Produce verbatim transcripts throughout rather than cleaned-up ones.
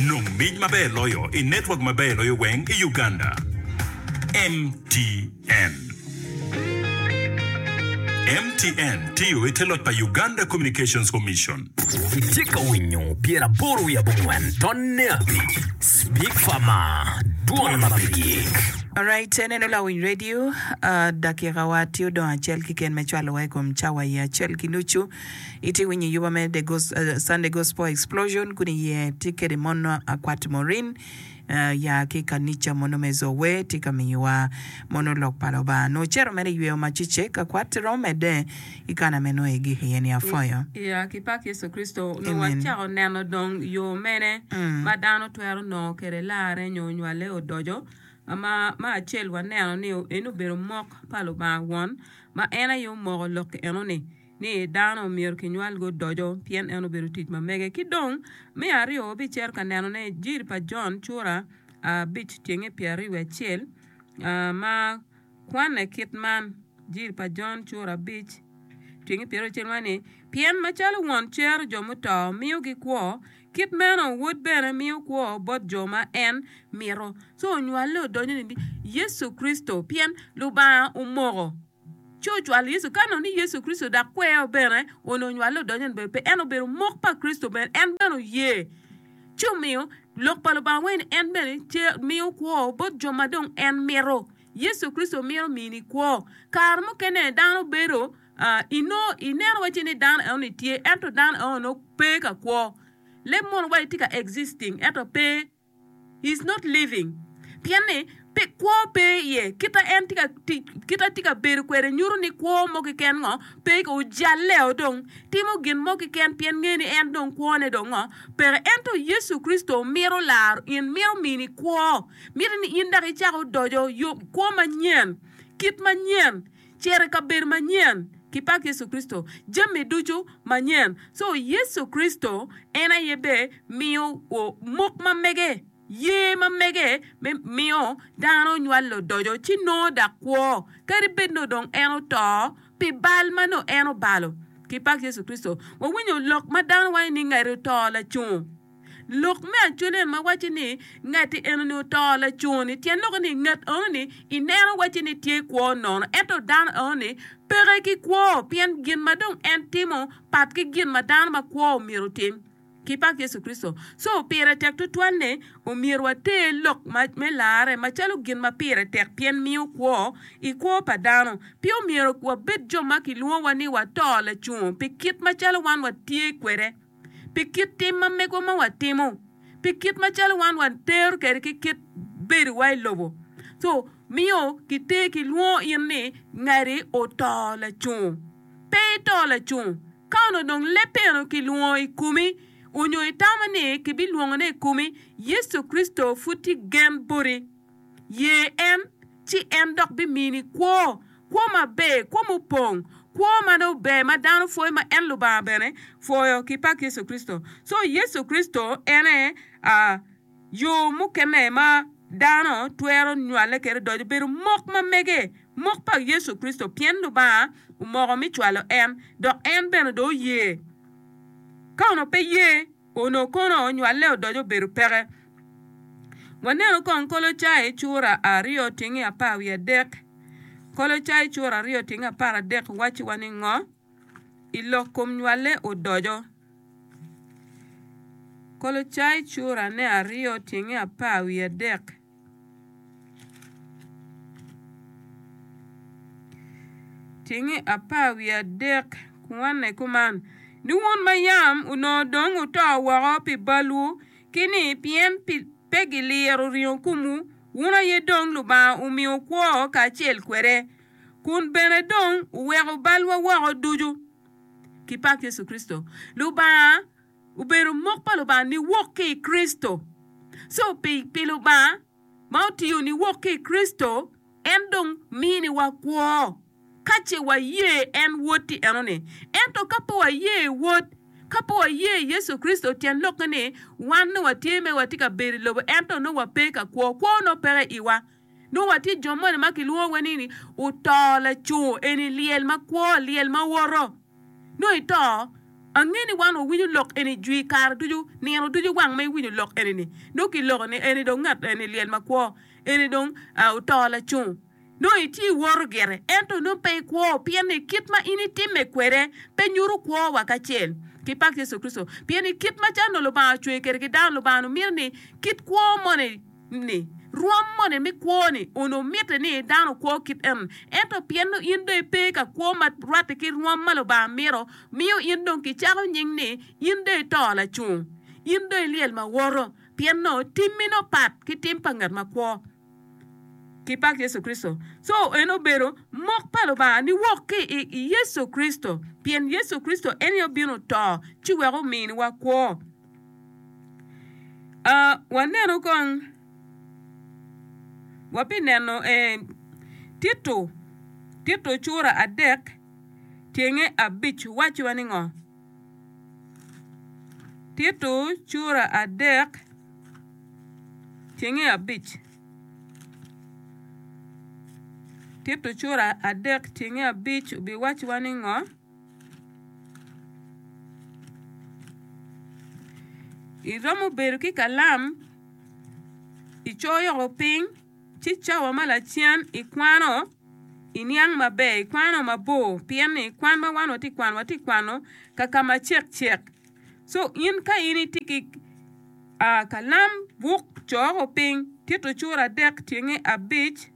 Nong mic maber loyo i network maber loyo weng i Uganda. M T N. M T N tiyo i te loc pa Uganda Communications Commission. Itye ka winyo pyeraboro wiye abongwen tonne abic Speak Farmer, dwon ma pe gik. Alright, eneno lawiny radio, uh, dakika wa tye odong acel keken me cwalowa i kom cawa i acel ki nucu. Itye winyo yuba me The Gos uh, Sunday Gospel Explosion kun iye tye kede mono Akwat Morin uh, ya ki kanica mono me Zowe tye ka miyowa mono lok pa Lubanga. Nocero mere yweyo macecek Akwat romo medde i kana me nongo igik iye ni afoyo. Ya ki pak Yecu Kricito nongo Amen. Wacako neno dong yo mene Mm. ma dano twero nongo kede larre nyo nywale odoco ma ma acel waneno ni en obedo mok pa Lubanga won ma en aye omoko lok enoni ni dano myero kinywalgi odoco pien en obedo tic ma mege. Ki dong me aryo wabicito ka nenone Jiri pa Jon cura abic tyenge pyeraryo wiye acel ma kwane kit man. Jiri pa Jon cura abic tyenge pyeraryo acel man ni pien macalo won cero jo muto miyogi kwo, kit meno wod bene miyo kwo bot jo ma en mito. So onywale odonyo ni Yecu Kricito pien Lubanga omoko ci ocwalo Yecu. Ka nongo ni Yecu Kricito dok kweo bene onongo onywale odonyo ni pe en obedo mok pa Kricito bene en bene oye ci omiyo lok pa Lubanga wai ni en bene miyo kwo bot jo ma dong en mito. Yecu Kricito mito mini kwo. Kare mukene dano bedo inongo ineno waci ni dano enoni tye, ento dano eno pe ka kwo. Leb mono waci tye ka existing ento pe, he is not living, pien ni pe kwo pe iye. Kita en tye ka tic, kita tye ka bedo kwede nyuto ni kwo mo keken ngo pe ojalle dong timo gin mo keken pien nge ni en dong kwone dong ngo peke. Ento Yecu Kricito mito laro in, mito mini kwo, mito ni in dok icako doco yo kwo manyen, kit manyen, cito i kabedo manyen ki pak Yecu Kricito, jami ducu manyen. So Yecu Kricito en aye be miyo mok ma mege, ye ma mege me miyo dano nywalo odoco ci nongo dok kwo kadi bed nongo dong en oto pi bal ma nongo en obalo ki pak Yecu Kricito. Wawinyo lok ma dano waco ni ngati oto lacungo. Lok me acwali ma waco ni ngati enoni oto lacungo-ni tyen lok ni ngat enoni ineno waci ni tye kwo nono, ento dano enoni peke ki kwo pien gin ma dong en timo pat ki gin ma dano ma kwo myero otim ki pak Yecu Kricito. So pire tek tutwal ni omyero water lok me larre macalo gin ma pire tek pien miyo kwo i kwo pa dano. Pe omyero wabed jo ma kilwongowa ni wato lacungo pi kit macalo wan watye kwede, pi kit tim ma megwa ma watimo, pi kit macalo wan watero kwede ki kit bedowa i lobo. So miyo kiter kilwongo in ni ngati oto lacungo. Pe ito lacungo. Ka onongo dong lebbe eno kilwongo i komi onyo itamo ni kibilwongone i komi, Yecu Kricito pud tye gen boti. Ye en, ci en dok bimini kwo, kwo maber, kwo mupong, kwo ma nongo ber ma dano pwoyo ma en Lubanga bene pwoyo ki pak Yecu Kricito. So Yecu Kricito en aye uh, yo mukene ma dano twero nywale kwede odoco bedo mok ma mege, mok pa Yecu Kricito pien Lubanga omoko mi cwalo en dok en bene dong oye. Ka onongo pe ye, onongo kono nywale odoco obedo peke. Waneno kong Kolocai cura aryo tyenge apar wiye adek. Kolocai cura aryo tyenge apar adek wacciwa ni ngo? I lok kom nywale odoco. Kolocai cura ne aryo tyenge apar wiye adek. Tyenge apar wiye adek kwane kuman ni wun ma yam onongo dong wuto woko pi balwu ki ni pien pe giliro ringo komwu, wun aye dong Lubanga omiyo kwo kacel kwede, kun bene dong oweko balwa woko ducu ki pak Yecu Kricito. Lubanga obedo mok pa Lubanga niwok ki i Kricito. So pi, pi Lubanga ma otiyo niwok ki i Kricito, en dong miniwa kwo ka ce waye en wod-ti enoni. Ento ka pe waye wod, ka pe waye Yecu Kricito, tyen lokke ni wan nongo watye me watye ka bedo i lobo ento nongo wape ka kwo, kwo nongo peke iwa. Nongo watye jo moni ma kilwongowa ni ni oto lacungo, eni lyel ma kwo, lyel ma woto. Nongo ito, Ange ni wan wawinyo lok eni jwi kare ducu, nino ducu wang ma iwinyo lok eni ni. Nongo kiloko ni eni dong ngat eni lyel makwo, eni dong oto lacung. Nongo itye iwoto gire, ento nongo pe ikwo pien ni kit ma in itimme kwede pe nyuto kwo wa kacel ki pak Yecu Kricito. Pien ni kit macalo nongo Lubanga ocweyo kwede ki dano, Lubanga onongo mito ni kit kwo moni ni, rwom moni me kwo-ni onongo mitte ni dano okwo kit eno. Ento pien nongo in dong ipe ka kwo ma rwatte ki rwom ma Lubanga mito, miyo in dong kicako nying ni in dong ito lacung, in dong ilyel ma woto, pien nongo timmi nongo pat ki tim pa ngat makwo. Ki pak Yecu Kricito. Co en obedo mok pa Lubanga niwok ki i Yecu Kricito, pien Yecu Kricito en aye obino oto ci wek ominiwa kwo. Uh, waneno kong, wabineno eh, Tito, Tito cura adek tyenge abic wacciwa ni ngo? Tito cura adek tyenge abic. Tito cura adek tyenge abic obiwacciwa ni ngo? Iromo bedo ki kalam icoyo piny ci cawa ma lacen ikwano iniang maber ikwano mabor pien ni kwan ma wan watye kwano watye kwano ka ka ma cek cek so in ka in itye ki uh, kalam buk coko piny Tito cura adek tyenge abic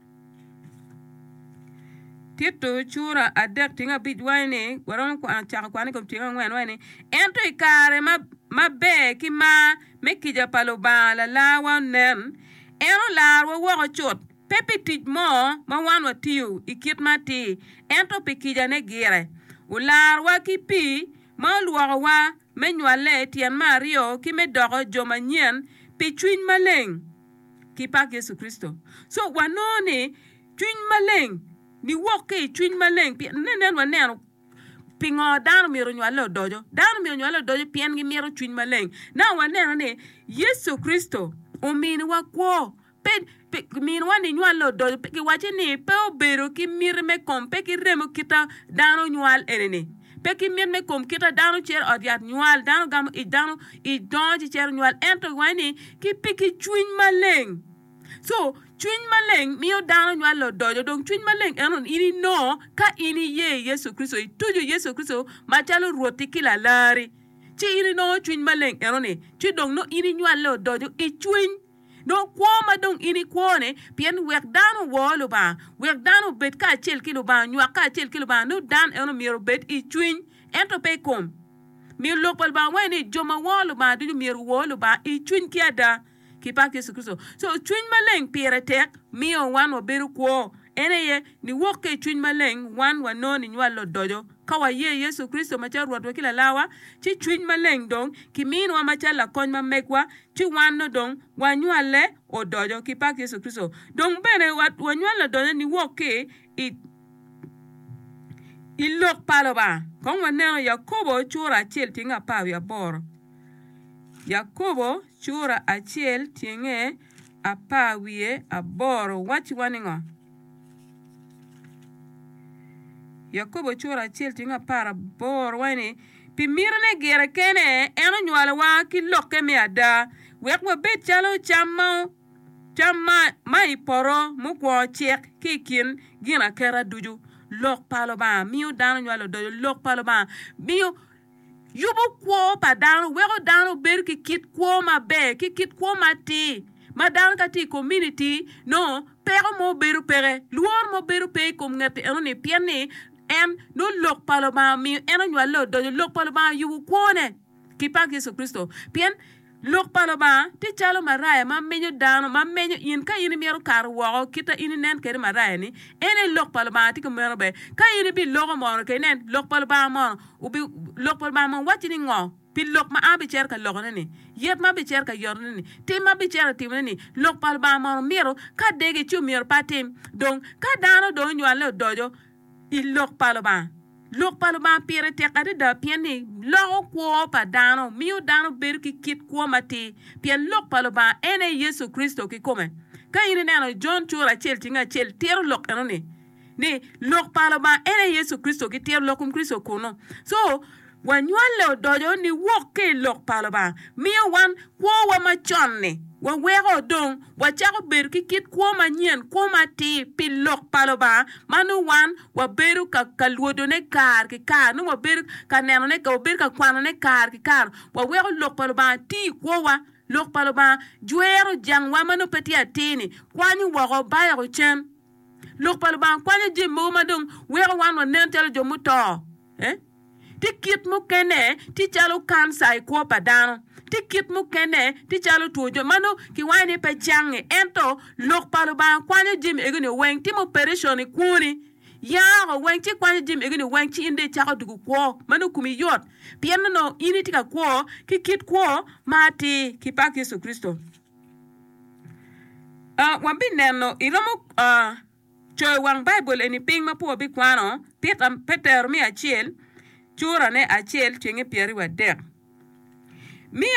Tito cura adek tyenge abic waco ni waromo kwano cako kwan i kom tyenge angwen waco ni ento i kare ma maber ki mar me kica pa Lubanga lalarwa onen en olarwa woko cut pe pi tic mo ma wan watiyo i kit ma atir ento pi kicane gire olarwa ki pii ma olwokowa me nywale tyen me aryo ki me doko jo manyen pi cwiny maleng ki pak Yecu Kricito. So wanongo ni cwiny maleng niwok ki i cwiny maleng pien nen waneno pingo dano myero onywale odoco. Dano myero onywale odoco pien gimito cwiny maleng. Na waneno ni Yecu Kricito ominiwa kwo pe miniwa ni nywale odoco pe kiwaco ni pe obedo ki miti me kom pe ki remo kita dano nywal eni-ni pe ki mit me kom kita dano cito ot yat nywal dano gamo ic dano ic dongo ci cito nywal ento kiwaco ni ki pi ki cwiny maleng. So cwiny maleng miyo dano nywale odoco dong cwiny maleng eno in inongo ka in iye Yecu Kricito ituco Yecu Kricito macalo Rwotti ki lalari ci in inongo cwiny maleng eno ni ci dong nongo in inywale odoco i cwiny nongo kwo ma dong in ikwo-ni pien wek dano owor Lubanga wek dano obed kacel ki Lubanga onywak kacel ki Lubanga nongo dano eno myero obed i cwiny ento pe i kom. Miyo lok pa Lubanga waco ni jo ma woro Lubanga ducu myero owor Lubanga i cwiny ki ada ki pak Yecu Kricito. So cwiny maleng pire tek miyo wan wabedo kwo. En aye niwok ki i cwiny maleng wan wanongo ninywalo odoco. Ka waye Yecu Kricito macalo Rwotwa ki lalawa ci cwiny maleng dong kiminwa macalo lakony ma megwa ci wan no dong wanywale odoco ki pak Yecu Kricito. Dong bene wanywale odoco niwok ki i i lok pa Lubanga. Kong waneno Yakobo cura acel tyenge apar wiye aboro. Yakobo cura acel tyenge apar wiye aboro wacciwa ni ngo? Yakobo cura acel tyenge apar aboro waco ni pi mitine gire kene en onywalowa ki lokke me ada wek wabed calo cam ma cam ma, ma i poto mukwongo cek ki i kin ginaketa ducu. Lok pa Lubanga miyo dano nywalo odoco. Lok pa Lubanga miyo yubo kwo pa dano weko dano bedo ki kit kwo maber ki kit kwo matir ma dano ka tye i komuniti nongo peko mo bedo peke lworo mo bedo pe i kom ngat eno ni pien ni en nongo lok pa Lubanga omiyo en onywale odoco. Lok pa Lubanga oyubo kwone ki pak Yecu Kricito pien lok pa Lubanga tye calo maraya ma menyo dano ma menyo in ka in imito kato woko kita in inen kede maraya ni en aye lok pa Lubanga tye kumeno be ka in ibiloko mono ke inen lok pa Lubanga mono obi lok pa Lubanga mono wacci ni ngo pi lok ma an abicito ka lokone ni yet ma abicito ka yotone ni tim ma abicito ka timone ni lok pa Lubanga mono mito ka degi ci omyero pe atim dong ka dano dong onywale odoco i lok pa Lubanga. Lok pa Lubanga pire tek adada pien ni loko kwo pa dano miyo dano bedo ki kit kwo matir pien lok pa Lubanga en aye Yecu Kricito kikome. Ka in ineno Jon cura acel tyenge acel tito lok eno ni ni lok pa Lubanga en aye Yecu Kricito gitito lok kom Kricito kunu. So Wanywalle odoco niwok ki i lok pa Lubanga. Miyo wan kwowa macon-ni waweko dong wacako bedo ki kit kwo manyen, kwo matir pi lok pa Lubanga, ma nongo wan wabedo ka, ka lwodone kare ki kare, nongo wabedo ka nenone, wabedo ka kwanone kare ki kare. Waweko lok pa Lubanga ti i kwowa. Lok pa Lubanga jwero jangwa ma nongo pe tye atir-ni, kwanyo woko, bayoko cen. Lok pa Lubanga kwanyo jami mogo ma dong weko wan wanen calo jo muto. Eh? Tye kit mukene tye calo kanca i kwo pa dano. Tye kit mukene tye calo two jo ma nongo kiwaco ni pe cange. Ento lok pa Lubanga kwanyo jami egi-ni weng. Timo operation i kwoni, yako weng ci kwanyo jami egi-ni weng ci in dong icako dwogo kwo ma nongo komi yot pien nongo in itye ka kwo ki kit kwo ma atir ki pak Yecu Kricito. Uh, wabineno iromo uh, coyo wang Baibul eni piny ma pe wabikwano, Pita, Petero me acel, curane acel, cwinge pyeraryo adek. Me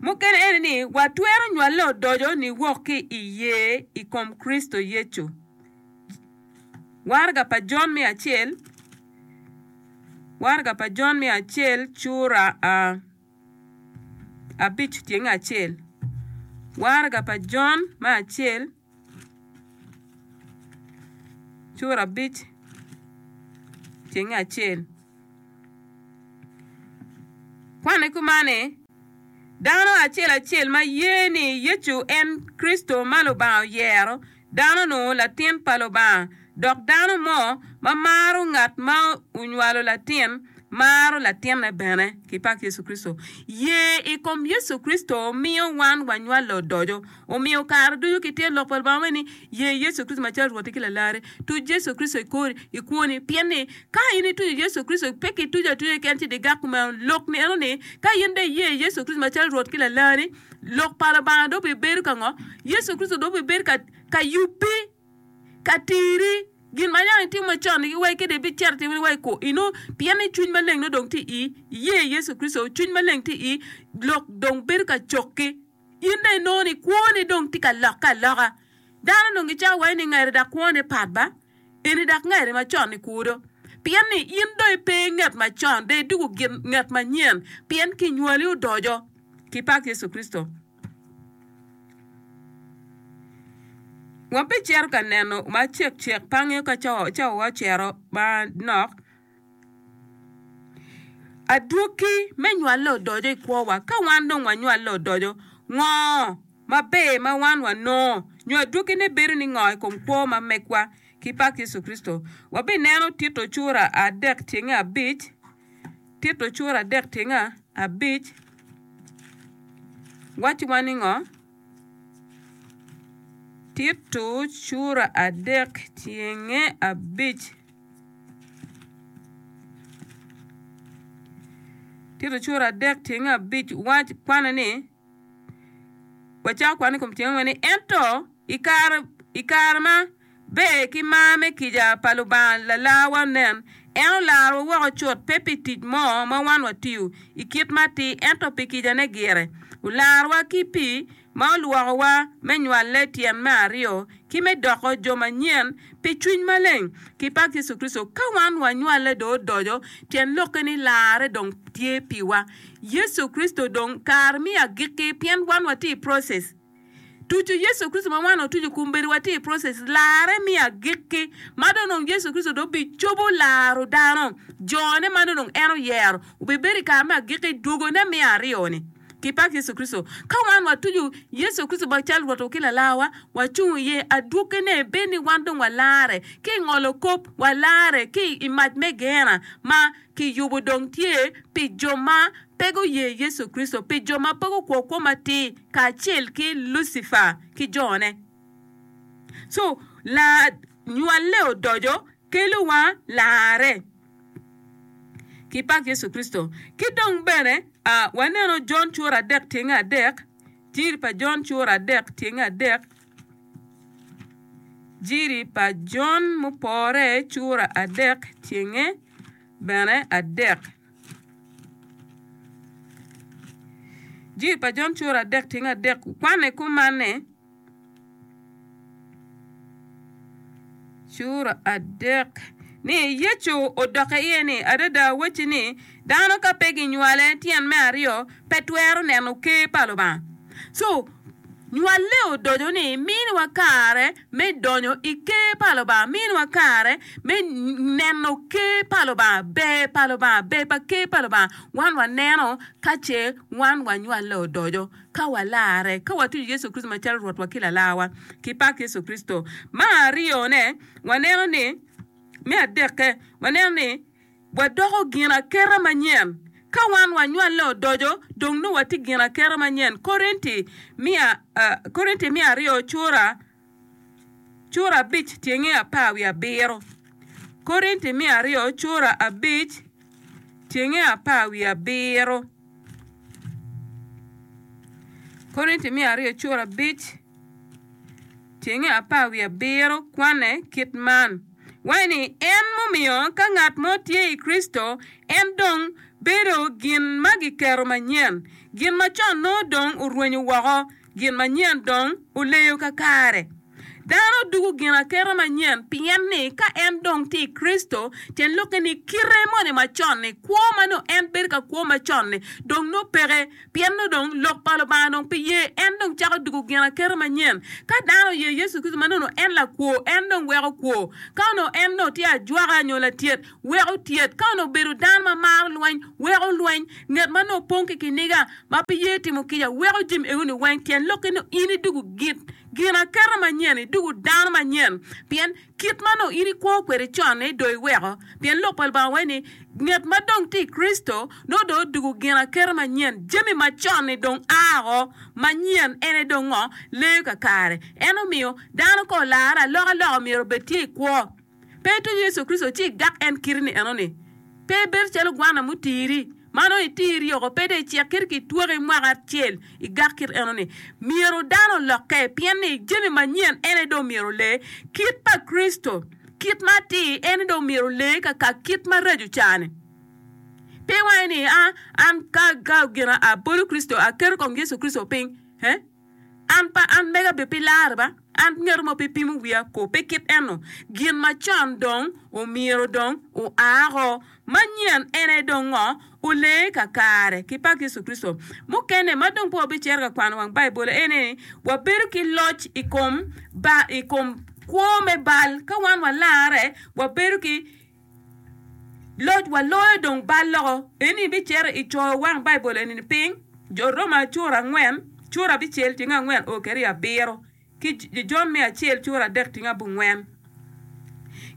mukene ene ni watwero nywale odoco niwok ki i ye i kom Kricito Yecu. Waraga pa Jon me acel, waraga pa Jon me acel, cura uh, abic tyenge acel. Waraga pa Jon me acel, cura abic tyenge acel. Kwane kuman ni, dano acel acel ma ye ni Yecu en Kricito ma Lubanga oyero, dano-nu latin pa Lubanga, dok dano mo ma maro ngat ma onywalo latin, maro latinne bene. Ki pak Yecu Kricito. Ye i kom Yecu Kricito miyo wan wanywalo odoco. Omiyo kare ducu kitye lok pa Lubanga ni ye Yecu Kricito macalo Rwot ki Lalari. Tuc Yecu Kricito i kori, i kwoni. Pien ni ka in ituco Yecu Kricito, pe kituco atuca keken ci digak kumeno. Lok ni eno ni ka in dong iye Yecu Kricito macalo Rwot ki Lalari, lok pa Lubanga dong bibedo ka ngo? Yecu Kricito dong bibedo ka, ka yubbi, ka tiri gin ma yam itimo macon ni wai kede ibicito itimo ni wai ko ino, pien ni cwiny maleng nongo dong tye i iye Yecu Kricito, cwiny maleng tye i lok dong bedo ka cokki. In dong inongo ni kwoni dong tye ka lokke aloka. Dano dong gicako waco ni ngati dok kwone pat ba, eni dok ngati macon ni kudo. Pien ni in dong ipe ngat macon, dong idwogo gin ngat manyen, pien kinywali odoco ki pak Yecu Kricito. Wabicito ka neno macek cek pe angeyo ka cawawa ocito manok. Adwogi me nywale odoco i kwowa. Ka wan dong wanywale odoco, ngo maber ma wan wanongo? Nyo adwogine bedo ni ngo i kom kwo ma megwa ki pak Yecu Kricito? Wabineno Tito cura adek tyenge abic. Tito cura adek tyenge abic wacciwa ni ngo? Tito cura adek tyenge abic. Tito cura adek tyenge abic wac kwane ni wacako kwane i kom tyenge angwen ni ento i kare i kare ma ber ki mar me kica pa Lubanga lalarwa nen, en olarowa woko cut pe pi tic mo ma wan watiyo i kit ma atir ento pi kicane gire. Olarowa ki pii ma olwokowa me nywale tyen me aryo ki me doko jo manyen pi cwiny maleng ki pak Yecu Kricito. Ka wan wanywale dong odoco, tyen lokke ni larre dong tye piwa. Yecu Kricito dong kare me agikki pien wan watye i process. Tuco Yecu Kricito ma wan otuco kombeddi watye i process larre me agikki ma dong dong Yecu Kricito dong bicobo laro dano jone ma dong dong en oyero obibedo i kare me agikki dwogone me aryo-ni. Ki pak Yecu Kricito. Ka wan watuco Yecu Kricito macalo Rwotwa ki Lalarwa, wacung iye. Adwoggine bed ni wan dong walare ki i ngolo kop, walare ki i mac me Geena ma kiyubo dong tye pi jo ma pe guye Yecu Kricito, pi jo ma pe gukwo kwo matir kacel ki Lucifer ki jone. So, la nywale odoco kelowa larre. Ki pak Yecu Kricito. Ki dong bene, a waneno Jon cura adek tyenge adek, Jiri pa Jon cura adek tyenge adek, Jiri pa Jon mupore cura adek tyenge bene adek. Jiri pa Jon cura adek tyenge adek kwane kuman ni, Cura adek. Ni Yecu odokke iye ni, Adada awacci ni, dano ka pe ginywale tyen me aryo, pe twero neno ker pa Lubanga. So, nywalle odoco ni miniwa kare me donyo i ker pa Lubanga, miniwa kare me neno ker pa Lubanga, ber pa Lubanga, ber pa ker pa Lubanga. Wan waneno ka ce wan wanywalle odoco, ka walarre, ka watuco Yecu Kricito macalo Rwotwa ki Lalarwa, ki pak Yecu Kricito. Me aryone, waneno ni, me adekke, waneno ni wadoko ginaketa manyen. Ka wan wanywalle odoco, dong nongo watye ginaketa manyen. Korinti miya, uh, Korinti miya aryo cura, cura abic tyenge apar wiye abiro. Korinti miya aryo cura abic tyenge apar wiye abiro. Korinti miya aryo cura abic tyenge apar wiye abiro kwane kit man. Waco ni, En mumiyo ka ngat mo tye i Kricito, en dong bedo gin ma giketo manyen. Gin macon nongo dong orwenyo woko, gin manyen dong oleyo kakare. Dano dugo ginaketa manyen pien ni ka en dong tye i Kricito, tyen lokke ni kite moni macon-ni, kwo ma nongo en bedo ka kwo macon-ni dong nongo peke. Pien nongo dong lok pa Lubanga dong pe ye, en dong cako dugo ginaketa manyen. Ka dano oye Yecu Kricito ma nongo en lakwo, en dong weko kwo. Ka onongo en nongo tye ajwaka nyo latyet, weko tyet. Ka onongo obedo dano ma maro lweny, weko lweny. Nget ma nongo opong ki kiniga, ma pe ye timo kica, weko jami eno-ni weng. Tyen lokke nongo in idugo ginaketa manyen, idugo dano manyen. Pien kit ma nongo in ikwo kwede con-ni dong iweko. Pien lok pa Lubanga waco ni, nget ma dong tye i Kricito nongo dong odugo ginaketa manyen, jami macon-ni dong a oko, manyen en aye dong ngo? Leyo kakare. En omiyo dano ka olarre alokaloka myero obed tye i kwo. Pe ituco Yecu Kricito ci igak en kiti-ni enoni. Pe ibedo calo gwana mutiri, ma nongo itiri oko, pe dong icek kit ki itwoki mwaka acel igak kit enoni. Myero dano olokke, pien ni jami manyen en aye dong myero ole. Kit pa Kricito, kit ma atir, en aye dong myero ole kaka kit maraco ca-ni. Pe iwaco ni, A, an ka, ka gin abolo Kricito, aketo kom Yecu Kricito piny, eh? An pa an mega be pi lare ba, an ngeto mo pe pimo wiya ko, pe kit eno. Gin macon dong omyero dong oa ko, manyen en aye dong ngo? Olee kakare ki pak Yecu Kricito. Mukene ma dong pe wabicito ka kwano wang Baibul en ni wabedo ki loc i kom ba i kom kwo me bal. Ka wan walare, wabedo ki Loc waloyo dong bal loko. Eni ibicito i coyo wang Baibul eni-ni piny, Jo Roma cura angwen, cura abicel tyeng angwen o kede i abiro, ki Jon me acel cura adek tyeng abongwen.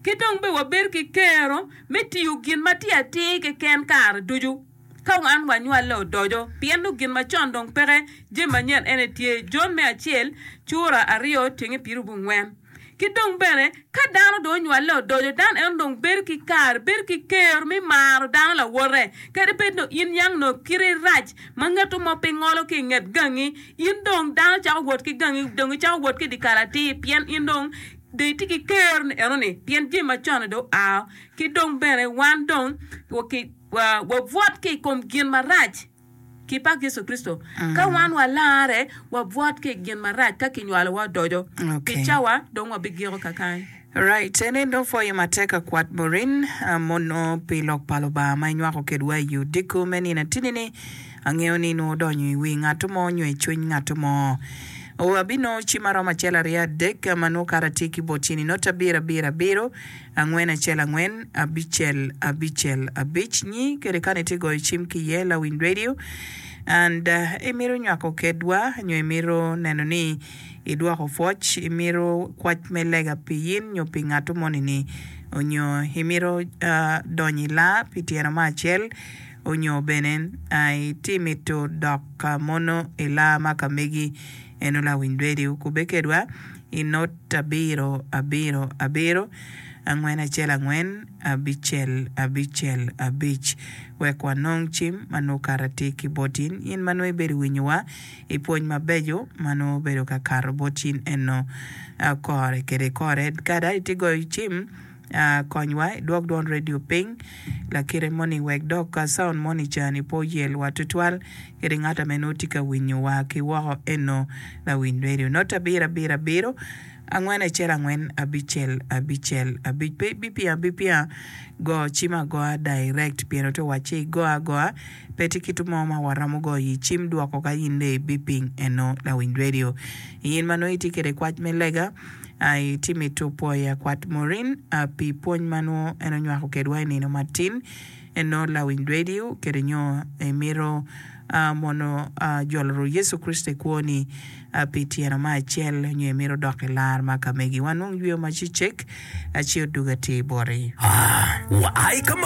Ki dong bene wabedo ki kero me tiyo gin ma tye atir keken kare ducu ka wan wanywalle odoco, pien nongo gin macon dong peke, jami manyen en aye tye. Jon me acel cura aryo tyenge pyerabongwen. Ki dong bene, ka dano dong onywalle odoco, dano eno dong bedo ki kare, bedo ki kero me maro dano lawote. Kadi bed nongo in yang nongo kiti rac ma ngeto mo pe ngolo ki i nget gangi, in dong dano cako wot ki gangi, dong icako wot ki i dyekal atir pien in dong dong itye ki kero ni eno-ni, pien jami macon-ni dong oa. Ki dong bene wan dong wabwot ki i kom gin marac. Ki pak Yecu Kricito, ka wan walarre, wabwot ki i gin marac ka kinywalowa odoco. Pi cawa, dong wabigiko kakany. Right, en aye dong pwoyo matek akwat Maureen mono pi lok pa Lubanga ma inywako kedwa i odiko me nino atini-ni. Angeyo ni nongo odonyo i wi ngat mo nyo i cwiny ngat mo. Wabinongo cim aromo acel aryo adek ma nongo kara tye ki bot cini not abiro abiro abiro Angwen acel angwen abicel abicel abic nyi kede kani itye goyo cim ki iye lawiny radio and imito nywako kedwa nyo imito neno ni idwoko pwoc imito kwac me lega pi in nyo pi ngato moni ni onyo imito donyo i laa pi tyeno mo acel onyo bene itye mito dok mono i laa ma ka megi eno lawiny radio kubbe kedwa i not abiro abiro abiro angwen acel angwen abicel abicel abic wek wanong cim ma nongo kato atir ki bot in, in ma nongo ibedo winyowa i pwony mabeco ma nongo obedo ka kato bot in eno kore kede kore. Kada itye goyo cim konywa idwok dwon radio piny lakite moni wek dok sound moni cani pe oyelwa tutwal kede ngat ame nongo tye ka winyowa ki woko eno lawiny radio not abiro abiro abiro Angwen acel angwen abicel abicel abic. Pe ibipingo abipinga, go cim agoa direct pien ote wacci igo agoa pe tye kit mo ma waromo goyo i cim dwoko ka in dong ibiping eno lawiny radio. In ma nongo itye kwede kwac me lega, itye mito pwoyo akwat Maureen pi pwony ma nongo en onywako kedwa i nino matin eno lawiny radio kede nyo imito mono jolo Yecu Kricito i kwoni pi tyeno me acel nyo imito dok i lar ma ka megi. Wanong yweyo ma cecek ci odwogo atir boti. Wa ai ka ma